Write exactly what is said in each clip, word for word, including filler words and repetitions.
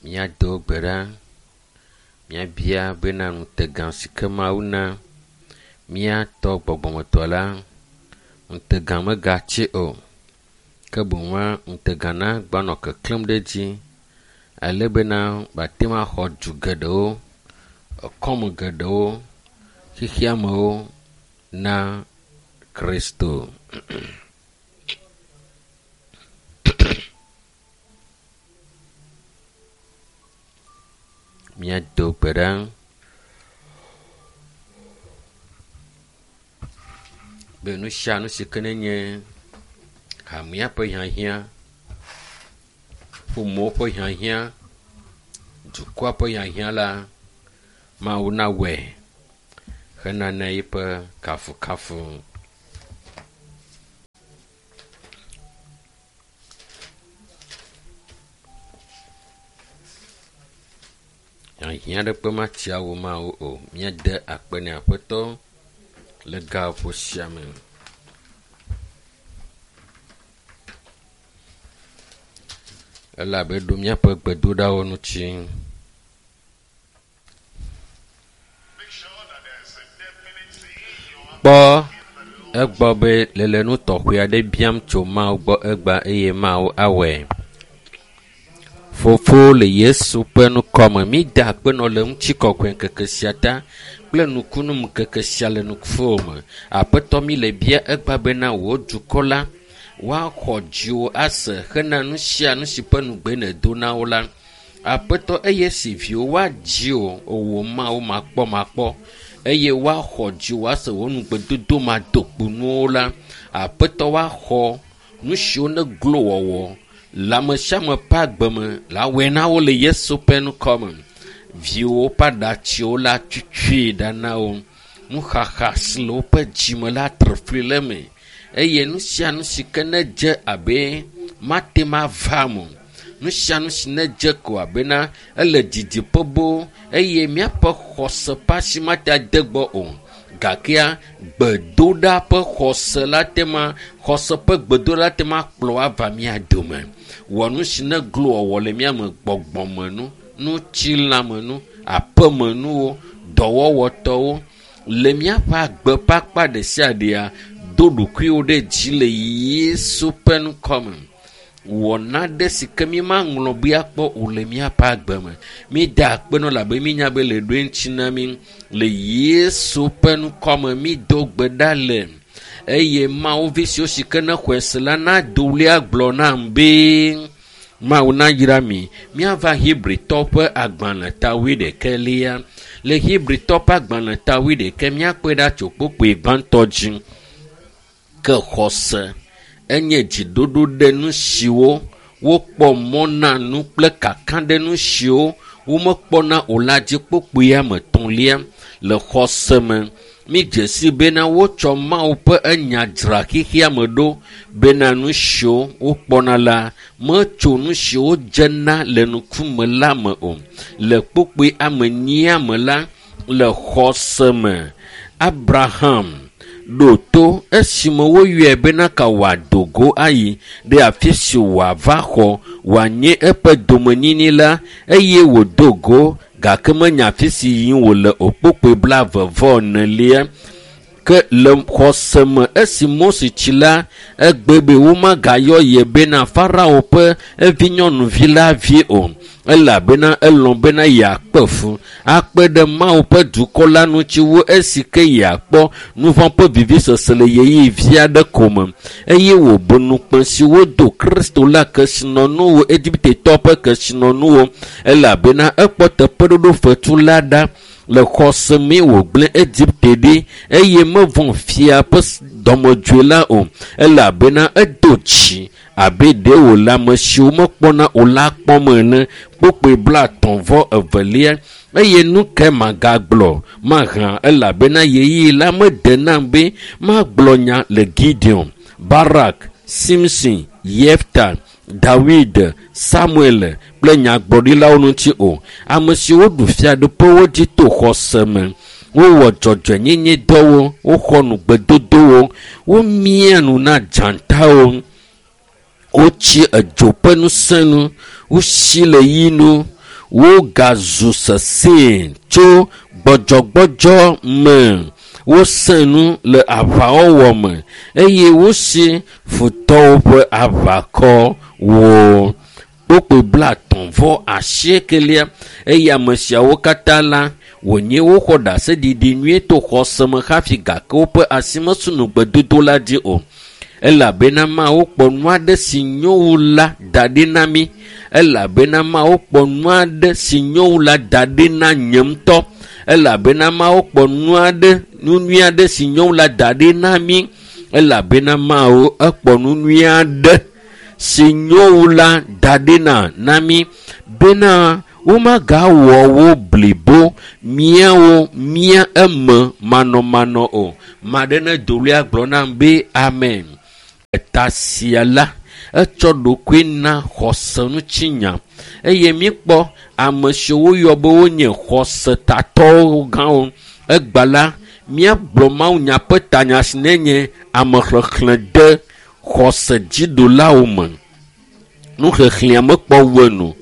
Míado gbe ɖa, míabia bena ŋutegã si ke Mawu na míatɔ gbɔgbɔmetɔ la, ŋutegã megatsi o. Ke boŋua ŋutegã na gbanɔ keklẽm ɖe edzi ale bena wòate ŋu axɔ du geɖewo, ekɔme geɖewo, xexeamewo na Kristo. Míado gbe ɖa. Be nu sia nu si ke nenye hamea ƒe hiahiã, ƒomewo ƒe hiahiã, dukɔa ƒe hiahiã la, Mawu nawɔe henana eƒe kafukafu. Hiahiã aɖeke matsi awu Mawu o. Míade akpe nɛ Aƒetɔ le gaƒoƒo sia me. Elabe eɖo míaƒe gbedoɖawo ŋuti. Make sure that there is a definite thing you are Kpɔ asking the Lord egbɔ be lele nu tɔxɛ aɖe biam tso Mawu gbɔ egbea eye Mawu awɔe. Fofo le Yesu ƒe ŋkɔme, mída akpe nɔ le ŋutikɔkɔe ŋkeke sia ta kple nukunu ŋkeke sia le nuƒo me. Aƒetɔ mi le bia egbea bena wò dukɔ la woaxɔ dziwò ase hena nu sia nu si ƒe nugbe nèdo na wo la. Aƒetɔ eye si viwo woadzi wò, wò Mawu makpɔmakpɔ eye woaxɔ dziwò ase wò nugbedodo madokponuwo la. Aƒetɔ woaxɔ nu siwo ne glo wɔwɔ le ame sia ame ƒe agbe me la wɔe na wo le Yesu ƒe ŋkɔme. Viwo ƒe aɖatsiwo la tutsui ɖa na wo. Nuxaxa si le woƒe dzime la tre fli le eme eye nu sia nu si ke ne dze abe mate ŋu ava eme o. Nu sia nu si ne dze ko abena ele didiƒe boo eye míaƒe xɔse ƒe asi mate ade gbɔ o. Gakea gbedoɖa ƒe xɔse la te ma xɔse ƒe gbedoɖa la te ma kplɔ ava mía dome. Wɔ nu si ne glo wɔwɔ le mía me gbɔgbɔmenu, ŋutilãmenu, aƒemenuwo, dɔwɔwɔtɔwo le míaƒe agbe ƒe akpa ɖe sia ɖea do ɖokuiwo ɖe dzi le Yesu ƒe ŋkɔme. Wɔ nane si ke mímaŋlɔ be akpɔ o le míaƒe agbe me. Mída akpe nɔ elabe mínya be le ɖoe ŋuti na mí. Le Yesu ƒe ŋkɔme mído gbe ɖa le eye Mawu vi siwo si ke ne xɔe se la nado ɣli agblɔ nam be Mawu nayra mi. Míava Hebritɔ ƒe agbalẽ ta wuiɖekɛlia. Le Hebritɔ ƒe agbalẽ ta wuiɖekɛ míakpɔe ɖa tso kpukpui gbãtɔ dzi. Ke xɔse enye dziɖoɖo ɖe nu siwo wokpɔ mɔ na nu kple kaka ɖe nu siwo womekpɔna o la dzi kpukpui ame etɔ̃lia. Le xɔse me, mídze si bena wotsɔ Mawu ƒe enya dzra xexea me ɖo bena nu siwo wokpɔna la metso nu siwo dzena le ŋkume la me o. Le kpukpui ame enyia me la, le xɔse me, Abraham ɖo to esime woyɔe bena ka wòado go ayi ɖe afi si wòava xɔ wòanye eƒe domenyinyi la eye wòdo go gake menya afi si yim wòle o kpukpui blaeve vɔ enelia. Ke le xɔse me esi Mose tsi la, egbe be womagayɔ ye bena Farao ƒe evinyɔnuvi la vi o elabena elɔ̃ bena yeakpe fu akpe ɖe Mawu ƒe dukɔ la ŋuti wu esi ke yeakpɔ nu vɔ̃ ƒe vivisese le ɣeyiɣi vi aɖe ko me eye wòbu ŋukpe si wodo Kristo la kesinɔnuwo Egiptetɔ ƒe kesinɔnuwo elabena ekpɔ teƒeɖoɖo fetu la ɖa le xɔse mee wògblẽ Egipte ɖi eye mevɔ̃ fia ƒe dɔmedzoe la o elabena edo dzi abe ɖe wòle ame siwo mekpɔna o la kpɔm ene. Kpukpui blaetɔ̃ vɔ evelia eye nu kae magagblɔ mahã elabena ɣeyiɣi la mede nam be magblɔ nya le Gideon, Barak, Simson, Yefta, Dawid, Samuel kple nyagblɔɖilawo ŋuti o. Ame siwo ɖu fiaɖuƒewo dzi to xɔse me. Wowɔ dzɔdzɔenyenye dɔwo, woxɔ nugbedodowo, womia nu na dzatawo, wotsi edzo ƒe ŋusẽ nu, wosi le yi nu, Wogazu sesẽ tso gbɔdzɔgbɔdzɔ me. Wosẽ nu le aʋawɔwɔ me eye wosi futɔwo ƒe aʋakɔwo. Kpokpoe blatɔ̃ vɔ asiekelia eye ame siawo katã la wònye woxɔ ɖaseɖiɖi nyuie to xɔse me hafi gake woƒe asi mesu nugbedodo la dzi o. Elabena Mawu kpɔ nu aɖe si nyo wu la da ɖi na mí. Elabena Mawu kpɔ nu aɖe si nyo wu la da ɖi na nye ŋutɔ. Elabena Mawu kpɔ nu aɖe, nu nyui aɖe si nyo wu la da ɖi na mí. Elabena Mawu ekpɔ nu nyui aɖe si nyo wu la da ɖi na na mí bena womagawɔ wo blibo míawo mía eme manɔmanɔ o. Maɖe ne dolia gblɔ nam be amen. Eta sia la etsɔ ɖokui na xɔse ŋutinya eye míekpɔ ame siwo woyɔ be wonye xɔsetatɔwo gãwo. Egba la míagblɔ mawunya ƒe tanya si nenye amexexlẽ de xɔse dziɖulawo me. Nuxexlẽa mekpɔ wu enu,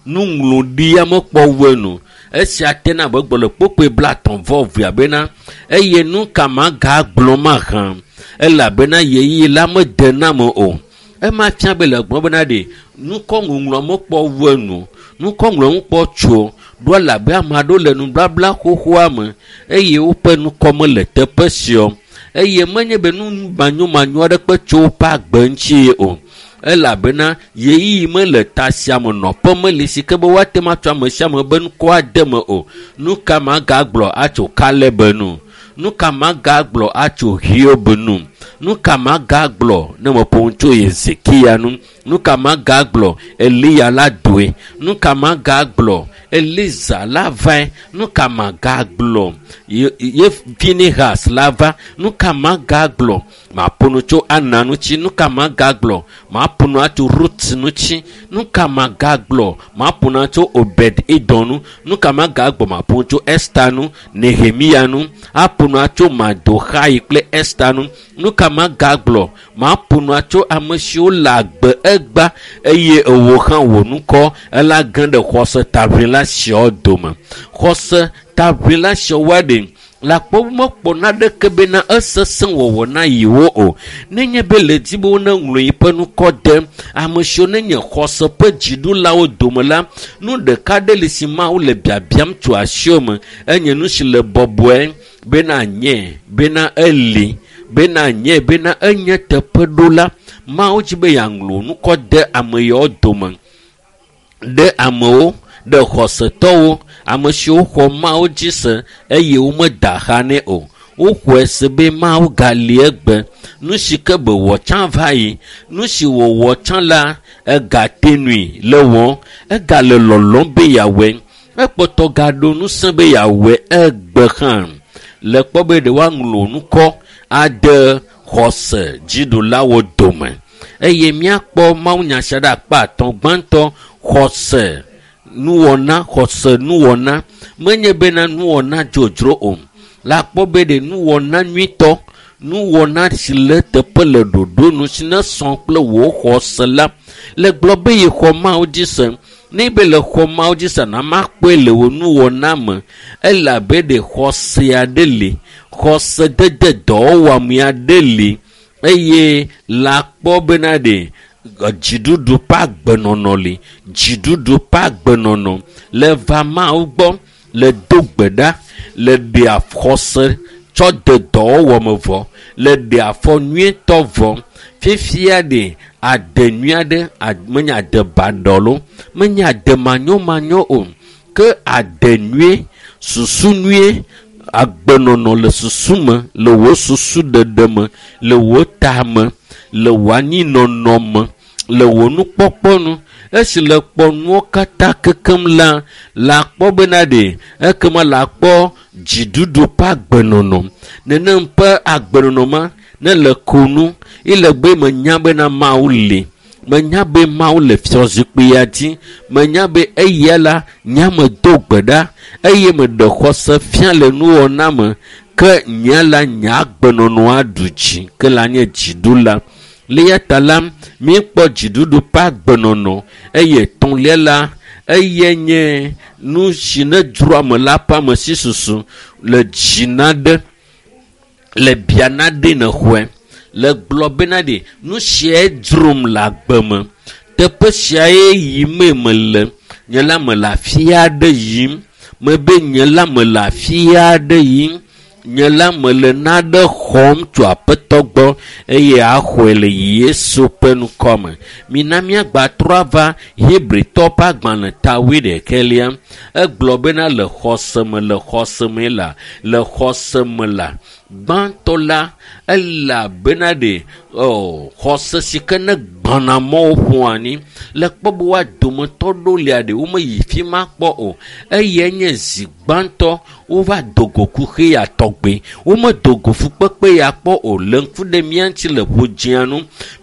nuŋlɔɖia mekpɔ wu enu. Esia tena abe gblɔ le kpokpoe blatɔ̃ vɔ evea bena eye nu ka magagblɔ mahã elabena ɣeyiɣi la mede nam o. Ema fia be le gblɔ bena ɖe nukɔŋɔŋlɔ mekpɔ wu enu, nukɔŋlɔ ŋukpɔ tso ɖo elabe ame aɖewo le nubabla xoxoa me eye woƒe nukɔ mele teƒe sia o. Eye menye be nu manyomanyo aɖeke tso woƒe agbe ŋuti o. Elabena ɣeyiɣi mele ta sia me nɔƒe meli si ke be woate ŋu atsɔ ame sia ame be ŋkɔ ade me o. Nu ka magagblɔ atso Kaleb nu? Nu ka magagblɔ atso Hiob nu? Nu ka magagblɔ ne meƒo nu tso Hezekia nu? Nu ka magagblɔ Eliya la doe? Nu ka magagblɔ Eliza la vae? Nu ka magagblɔ Ye, Ye Finehas la va? Nu ka magagblɔ maƒo nu tso Ana ŋuti? Nu ka magagblɔ maƒo nu atso Rut ŋuti? Nu ka magagblɔ maƒo nu atso Obed Edom nu? Nu ka magagblɔ maƒo nu tso Esta nu, Nehemia nu, aƒo nu atso Mardoxai kple Esta nu? Nu ka magagblɔ maƒo nu atso ame siwo le agbe egba eye ewo hã wò ŋkɔ ela ge ɖe xɔse taʋlila siawo dome. Xɔse taʋlila siawo ɖe le akpɔ mekpɔ naɖeke bena esesẽ wɔwɔ na yewo o. Nenye be le di be woneŋlɔ yiƒe ŋkɔ de ame siwo nenye xɔse ƒe dziɖulawo dome la, nu ɖeka ɖe li si Mawu le biabiam tso asiwò me. Enye nu si le bɔbɔe bena nye bena eli bena nye bena enye teƒeɖola. Mawu dzi be yeaŋlɔ ŋkɔ de ame yawo dome ɖe amewo ɖe xɔsetɔwo ame siwo xɔ Mawu dzi se eye womeda xa nɛ o. Woxɔe se be Mawu gali egbe. Nu si ke be wɔ tsã va yi, nu si wòwɔ tsã la egate nui le wɔm, egale lɔlɔm be yeawɔe. Ekpɔtɔ gaɖo ŋusẽ be yeawɔe egbe hã. Le kpɔ be ɖe woaŋlɔ ŋkɔ ade xɔse dziɖulawo dome. Eye míakpɔ mawunya sia ɖe akpa atɔ̃. Gbãtɔ, xɔse nuwɔna, xɔse nuwɔna. Menye bena nuwɔna dzodzro o. Le akpɔ be ɖe nuwɔna nyuitɔ, nuwɔna si le teƒe le ɖoɖo nu si ne sɔ kple wò xɔse la. Le gblɔ be yexɔ Mawu dzi se. Ne be le xɔ Mawu dzi se na makpɔe le wò nuwɔna me. Elabe ɖe xɔse aɖe li, xɔse dede dɔwɔwɔame aɖe li eye le akpɔ bena ɖe dziɖuɖu ƒe agbenɔnɔ li. Dziɖuɖu ƒe agbenɔnɔ le va Mawu gbɔ, le do gbe ɖa, le ɖe xɔse tsɔ de dɔwɔwɔ me vɔ, le ɖe afɔ nyuietɔ vɔ. Fifia ɖe ade nyui aɖe, menye ade baɖɔ loo, menye ade manyomanyo o, ke ade nyuie, susu nyuie, agbenɔnɔ le susu me, le wò susu ɖeɖe me, le wò ta me, le wò anyinɔnɔ me, le wò nukpɔkpɔ nu. Esi le kpɔ nuwo katã kekem la, le akpɔ bena ɖe ekema le akpɔ dziɖuɖu ƒe agbenɔnɔ. Nenem ƒe agbenɔnɔ ma ne le ko nu, ele be menya bena Mawu li. Menya be Mawu le fiazikpuia dzi. Menya be eya la nye me do gbe ɖa eye meɖe xɔse fia le nuwɔna me ke nye la nye agbenɔnɔ aɖu dzi ke la nye dziɖula. Le eya ta la míekpɔ dziɖuɖu ƒe agbenɔnɔ eye etɔ̃lia la Eye nye nu si ne dzroa ame la ƒe ame si susu le dzi na ɖe, le bia na ɖe ne xɔe. Le gblɔ bena ɖe nu siae dzrom le agbe me. Teƒe siae yimee mele. Nye la mele afi aɖe yim. Mebe nye la mele afi aɖe yim. Nye la mele naɖe xɔm tso Aƒetɔ gbɔ eye axɔe le Yesu ƒe ŋkɔme. Mina míagbatrɔ ava Hebritɔ ƒe agbalẽ ta wuiɖekɛlia. Egblɔ bena le xɔse me, le xɔse me la, le xɔse me la, gbãtɔ la, elabena ɖe, ɔ, xɔse si ke ne gbãna mɔwo ƒo anyi. Le kpɔ be woa dometɔ ɖewo lia ɖe womeyi fi ma kpɔ o. Eyae nye zi gbãtɔ wova do go kuxi ya tɔgbe. Womedo go fukpekpe ya kpɔ o. Le ŋku ɖe mía ŋuti le ƒodzia nu.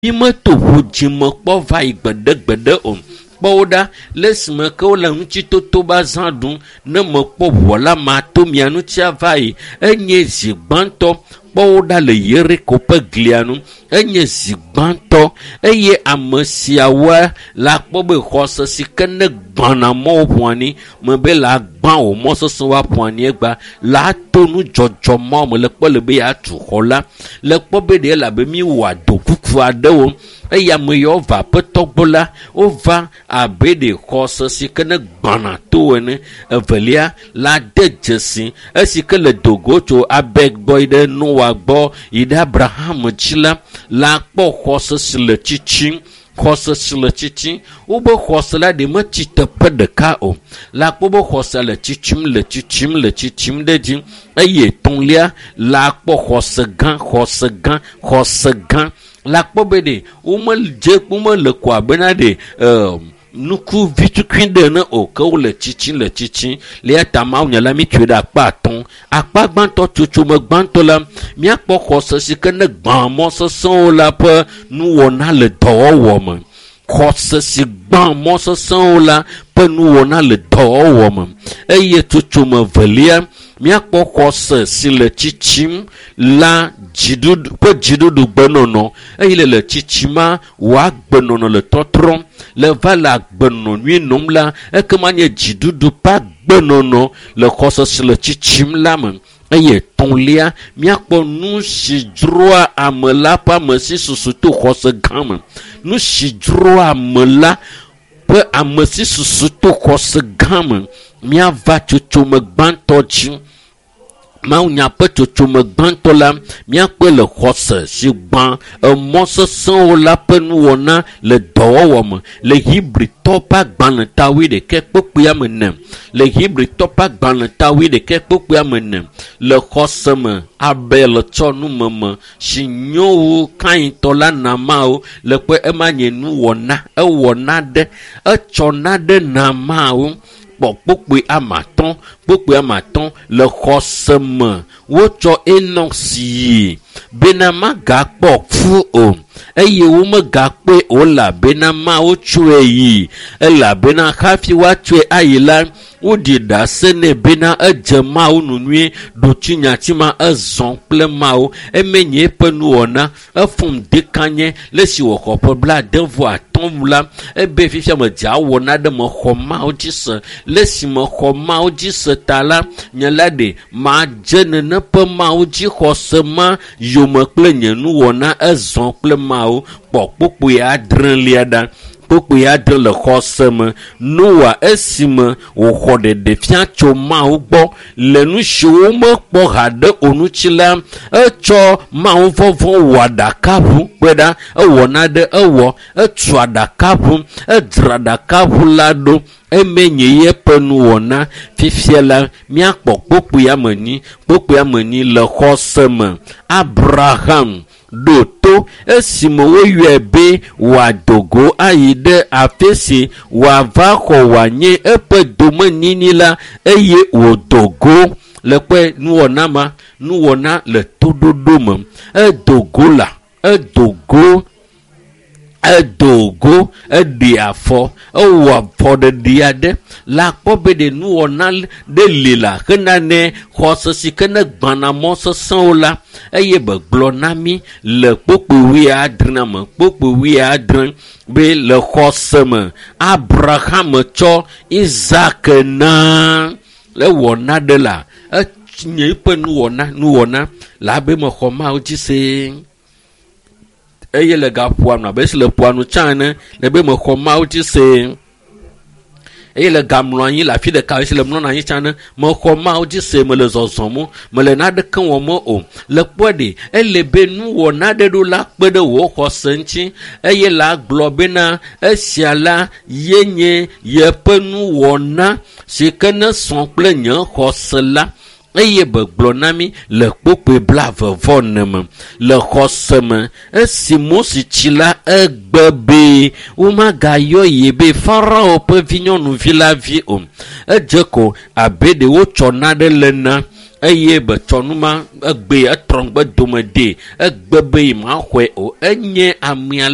Mímeto ƒodzi me kpɔ va yi gbeɖegbeɖe o. Kpɔ wo ɖa le esime ke wole ŋutitoto be azã ɖum. Ne mekpɔ ʋua la, mato mia ŋuti ava yi. Enye zi gbãtɔ. Kpɔ wo ɖa le Yeriko ƒe glia nu. Enye zi gbãtɔ eye ame siawoa la kpɔ be xɔse si ke ne gbãna mɔwo ƒo anyi mebe la gbã wò mɔ sesẽ woaƒo anyi egba la to nudzɔdzɔ mɔ me le kpɔ le be yeatu xɔ la. Le kpɔ be ɖe elabe mi wɔ adokuku aɖewo eye ame yawo va Aƒetɔ gbɔ la wova abe ɖe xɔse si ke ne gbãna to ene. Evelia la de dzesi esi ke le dogo tso Abel gbɔ yi ɖe Noa gbɔ yi ɖe Abraham dzi la, la kpɔ xɔse si le tsitsim. Xɔse si le tsitsim. Wobe xɔse la ɖe metsi teƒe ɖeka o. La kpɔ be xɔse le tsitsim, le tsitsim, le tsitsim ɖe dzi. Eye etɔ̃lia la kpɔ xɔse gã, xɔse gã, xɔse gã. La kpɔ be ɖe womedze, womele ko abena ɖe, e, nuku vitukui ɖe ene o, ke wole tsitsim, le tsitsim. Le eya ta Mawu nya la mi tsoe ɖe akpa atɔ̃. Akpa gbãtɔ, tsotsome gbãtɔ la, míakpɔ xɔse si ke ne gbã mɔ sesẽwo la ƒe nuwɔna le dɔwɔwɔ me. Xɔse si gbã mɔ sesẽwo la ƒe nuwɔna le dɔwɔwɔ me. Eye tsotsome velia, míakpɔ xɔse si le tsitsim la dziɖuɖu, ƒe dziɖuɖugbenɔnɔ. Eye le le tsitsima, wò agbenɔnɔ le tɔtrɔm. Le va le agbenɔnɔ nyui nɔm la, ekema nye dziɖuɖu ƒe agbenɔnɔ le xɔse si le tsitsim la me. Eye etɔ̃lia, míakpɔ nu si dzroa ame la ƒe ame si susu to xɔse gã me. Nu si dzroa ame la ƒe ame si susu to xɔse gã me. Míava tsotsome gbãtɔ dzi. Mawu nya ƒe tsotsome gbãtɔ la, míakpɔe le xɔse si gbã emɔ sesẽwo la ƒe nuwɔna le dɔwɔwɔ me. Le Hebritɔ ƒe agbalẽ ta wuiɖekɛ kpukpuia me ene. Le Hebritɔ ƒe agbalẽ ta wuiɖekɛ kpukpuia me ene. Le xɔse me, Abel tsɔ numeme si nyo wu Kaintɔ la na Mawu. Le kpɔe ema nye nuwɔna, ewɔ naɖe, etsɔ naɖe na Mawu. Kpɔ kpukpui ame atɔ̃, kpukpui ame atɔ̃ le xɔse me. Wotsɔ Enɔk yi bena magakpɔ ku o eye womegakpɔe o elabena Mawu tsɔe yi. Elabena hafi woatsɔe ayi la, woɖi ɖase nɛ bena edze Mawu nu nyuie. Ɖotsinyati ma ezɔ kple Mawu. Eme nye eƒe nuwɔna. Efɔm dekanye le esi wòxɔ ƒe blaade vɔ atɔ̃ la, ebe fifia medze awɔ naɖe mexɔ Mawu dzi se. Le esi mexɔ Mawu dzi se ta la, nye la ɖe madze nene ƒe Mawu dzi xɔse ma yome kple nye nuwɔna ezɔ kple Mawu. Kpɔ kpukpui adrelia ɖa. Kpukpui adre le xɔse me. Noa esime wòxɔ ɖeɖefia tso Mawu gbɔ le nu siwo womekpɔ haɖe o ŋuti la, etsɔ Mawu vɔvɔ̃ wɔ aɖakaʋu. Kpɔe ɖa, ewɔ naɖe, ewɔ, etu aɖakaʋu, edzra aɖakaʋu la ɖo. Eme nye yeƒe nuwɔna. Fifia la, míakpɔ kpukpui ame enyi. Kpukpui ame enyi le xɔse me. Abraham ɖo to esime woyɔe be wòado go ayi ɖe afi si wòava xɔ wòanye eƒe domenyinyi la eye wòdo go. Le kpɔe nuwɔna ma, nuwɔna le toɖoɖo me. Edo go la, edo go Edo go, eɖe afɔ, ewɔ afɔɖeɖe aɖe le akpɔ be ɖe nuwɔna ɖe li la hena ne xɔse si ke ne gbãna mɔ sesẽwo la eye begblɔ na mí le kpokpo wuiadre me kpokpo wuiadre be le xɔse me Abraham tsɔ Isak na ewɔ naɖe la enye eƒe nuwɔna nuwɔna le abe mexɔ Mawu dzi see eye le gaƒoa nu abe esi le ƒoa nu tsã ene le be mexɔ Mawu dzi see eye le gamlɔ anyi le afi ɖeka esi le mlɔna anyi tsã ne mexɔ Mawu dzi se mele zɔzɔm mele naneke wɔm o le kpɔe ɖe ele be nuwɔna ɖe ɖo la kpe ɖe wò xɔse ŋuti eye la gblɔ bena esia la ye nye yeƒe nuwɔna si ke ne sɔ kple nye xɔse la eye begblɔ na mí le kpokpoe blaeve vɔ ene me le xɔse me esi Mose tsi la egbe be womagayɔ ye be Farao ƒe vinyɔnuvi la vi o. Edze ko abe ɖe wotsɔ naɖe le na eye betsɔ nu ma egbe etrɔ ŋgbe dome dee egbe be yemaxɔe o. Enye amea